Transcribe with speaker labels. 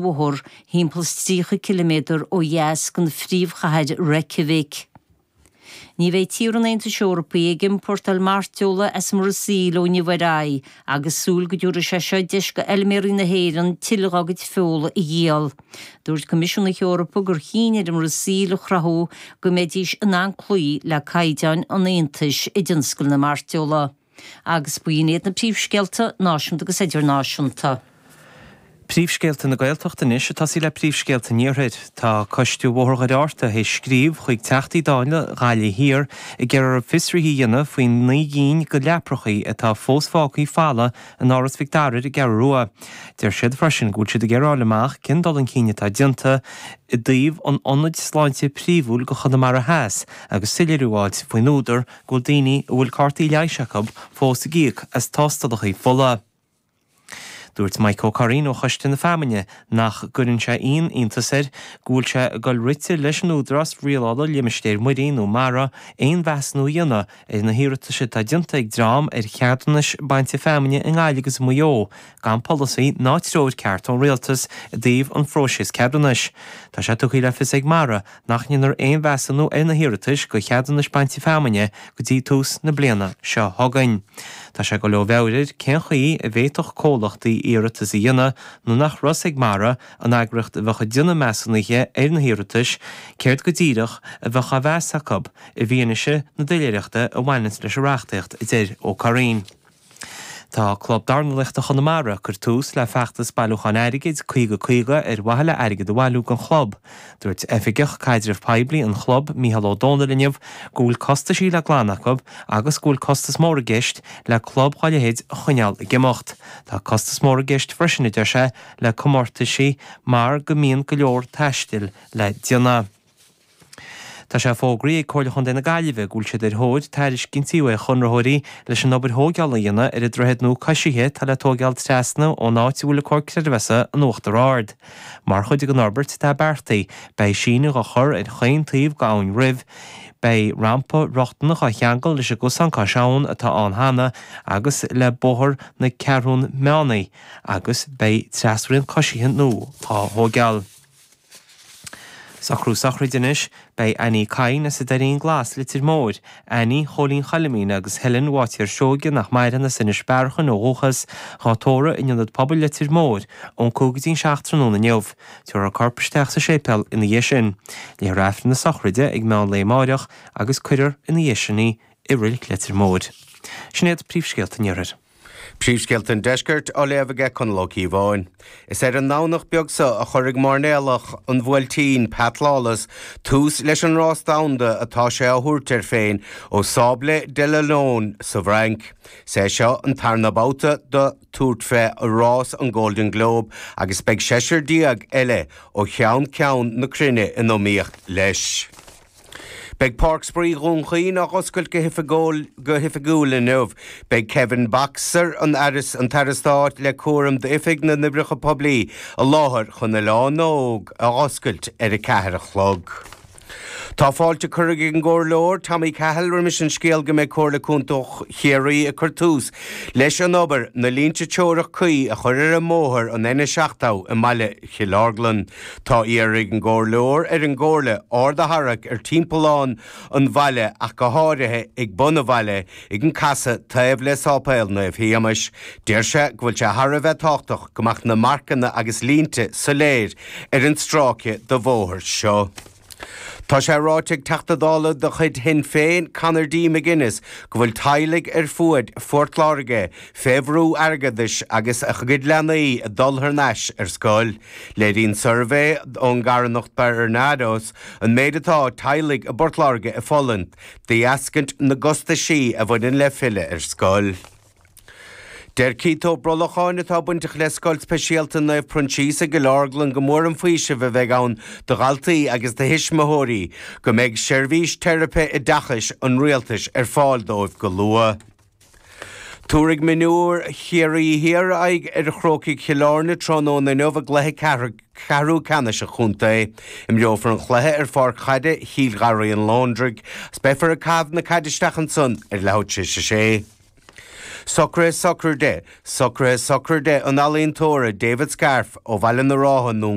Speaker 1: Bhóthar, thimpeall 's 30 ciliméadar ó dheas den phríomhchathair Reykjavik. Ní bheidh tíortha an Aontais Eorpaigh ag iompórtáil mairteola as an mBrasaíl ó inniu ar aghaidh agus súil go dtabharfaidh sé seo deis do fheilméaraí na hÉireann tuilleadh dá gcuid feola a dhíol. Dúirt Coimisiún na hEorpa gur chinn ar an mBrasaíl a chruthú go mbeidís in ann cloí le caighdeáin an Aontais i dtionscal na mairteola. Agus b'in iad na príomhscéalta, náisiúnta agus idirnáisiúnta.
Speaker 2: Príomhscéalta na Gaeltachta anois ag tosaí le príomhscéalta an Iarthair. Tá Coiste Bhóthar Dhoire Fhatharta théis scríobh chuig Teachtaí Dála Ghaillimh Thiar ag iarraidh orthu fiosruithe a dhéanamh faoi 9 gcinn de leaprachaí atá fós fágthaí folamh in Áras Mhic Dara ar an gCeathrú Rua. Deir siad freisin go bhfuil siad ag iarraidh a fháil amach cén dul chun cinn atá déanta i dtaobh an ionaid sláinte príomhúil do Chonamara Theas agus soiléiriú a fháilt faoin údar go bhfuil daoine a bhfuil cártaí leighis acu fós ag íoc as tástalacha fola. Dúirt Mike Ó Curraoin ó Choiste na Feamainne nach gcuireann sé aon iontas air go bhfuil sé ag dul rite leis an Údarás Rialála Limistéir Muirí nó Mara aon mheasúnú a dhéanamh ar na hiarratais atá déanta ag dream ar cheadúnais bainte feamainne i nGaillimh agus i Maigh Eo gan polasaí ná treoir ceart ón Rialtas i dtaobh an phróisis ceadúnais. Tá sé tugtha le fios ag Mara nach ndéanfar aon mheasúnú ar na hiarratais do cheadúnais bainte feamainne go dtí tús na bliana seo chugainn. Tá sé ag dul ó mheabhair air cén chaoi a bhféadfadh comhlachtaí iarratas a dhéanamh nuair nach raibh a fhios ag Mara, an eagraíocht a bheadh ag déanamh measúnaithe ar na hiarratais, céard go díreach a bheadh á mheas acu, i bhfianaise na doiléireachta a bhaineanns leis an reachtaíocht, a deir Ó Curraoin. Tá Club Dornálaíochta Chonamara ag cur tús le feachtas bailiúcháin airgid 50 50 ar mhaithe le airgead a bhailiú don chlub. Dúirt Oifigeach Caidreamh Poiblí an chlub, Mícheál Ó Dónaill inniu go bhfuil costaisí le glanadh acu agus go bhfuil costas mór i gceist le club dhá leithéid a choinneáil ag imeacht. Tá costas mór i gceist freisin, a deir sé, le comórtaisí mar go mbíonn go leor taistil le déanamh. Tá sé fógraithe ag Comhairle Chontae na Gaillimhe go bhfuil siad ar thóir tairiscintí uaidh chonraitheoirí leis an obair thóigeála a dhéanamh ar an droichead nua coisithe atá le tóigeáil trasna ón áit a bhfuil an Comhar Creidmheasa in Uachtar Ard. Mar chuid den fhorbairt atá beartaithe, beidh síneadh á chur ar chaon taobh d'Abhainn Roimh, beidh rampa rochtana á cheangal leis an gcosán cois abhann atá ann cheana agus le Bóthar na Ceathrún Meánaí agus beidh trasrian coisithe nua á thóigeáil. Socrú sochraide anois. Beidh Annie Kyne as an Doirín Glas, Leitir Móir, Annie Chóilín Choilimín agus Helen Bháitéar Seoige nach maireann as Inis Bearachain ó dhúchas, dhá tórramh in Ionad Pobail Leitir Móir ón 5 go dtí'n 7 tráthnóna inniu. Tabharfar a corp isteach sa séipéal ina dhiaidh sin. Léifear Aifreann na sochraide ag meán lae amáireach agus cuirfear ina dhiaidh sin í i Reilig Leitir Móir. Sin iad príomhscéalta an Iarthair.
Speaker 3: Príomhscéalta an Deiscirt á léamh aige Conall Ó Cíobháin. Is ar an nDomhnach beag seo a chuirfidh mairnéalach an Bhuailtín, Pat Lawless, tús leis an rás domhanda atá sé á thabhairt air féin ó Sables d'Olonne sa bhFrainc. Is é seo an tarna babhta do tabhairt fé rás an Golden Globe agus beidh seisear eile ó cheann ceann na cruinne in iomaíocht leis. Beidh Páirc Spraoi Dhún Chaoin á oscailt go hoifigiúil inniu. Beidh Kevin Boxer, an tAire Stáit le cúram d'Oifig na nOibreacha Poiblí, i láthair chun Oileán na nÓg a oscailt ar a ceathair a chlog. Tá fáilte curtha ag an gComhairleoir Tommy Cahill roimis an scéal go mbeidh Comhairle Contae Chiarraí ag cur tús leis an obair na línte teorach cuí a chur ar an mbóthar an N70 i mbaile Chill Orglan. Tá iarrtha ag an gComhairleoir ar an gComhairle aird a tharrac ar timpeallán an bhaile ach go háirithe ag bun an bhaile ag an casadh taobh le Sáipéal Naomh Shéamais. Deir sé go bhfuil sé thar a bheith tábhachtach go mbeadh na marcanna agus línte soiléir ar an stráice de bhóthar seo. Tá sé ráite ag Teachta Dála de chuid Shinn Féin, Conor D McGuinness, go bhfuil teaghlaigh ar fuaid Phort Láirge fé bhrú airgeadais agus a gcuid leanaí ag dul thar n-ais ar scoil. Léiríonn suirbhé ón gcarthanacht Barnardos an méid atá teaghlaigh i bPort Láirge ag fulaingt de dheascaint na gcostaisí a bhaineann le filleadh ar scoil. Deir Keith Ó Brolacháin, atá bainteach le Scoil Speisialta Naomh Proinsias i gCill Orglan go mór an faoiseamh a bheidh ann do dhaltaí agus do thuismitheoirí go mbeidh seirbhís teiripe oideachais an Rialtais ar fáil dóibh go luath. Tabharfaidh mionúir Chiarraí Thiar aghaidh ar Chrócaigh Chill Airne tráthnóna inniu i gcluiche ceathrú ceannais an chontae. Imreofar an cluiche ar pháirc chaide Chill Gharraí an Lóndra agus beifear ag caitheamh na caide isteach ansan ar leathuair tar éis a sé. Socruithe sochraide Socruithe sochraide an ealaíontóra David Scarfe ó Bhaile na Rátha i nDún.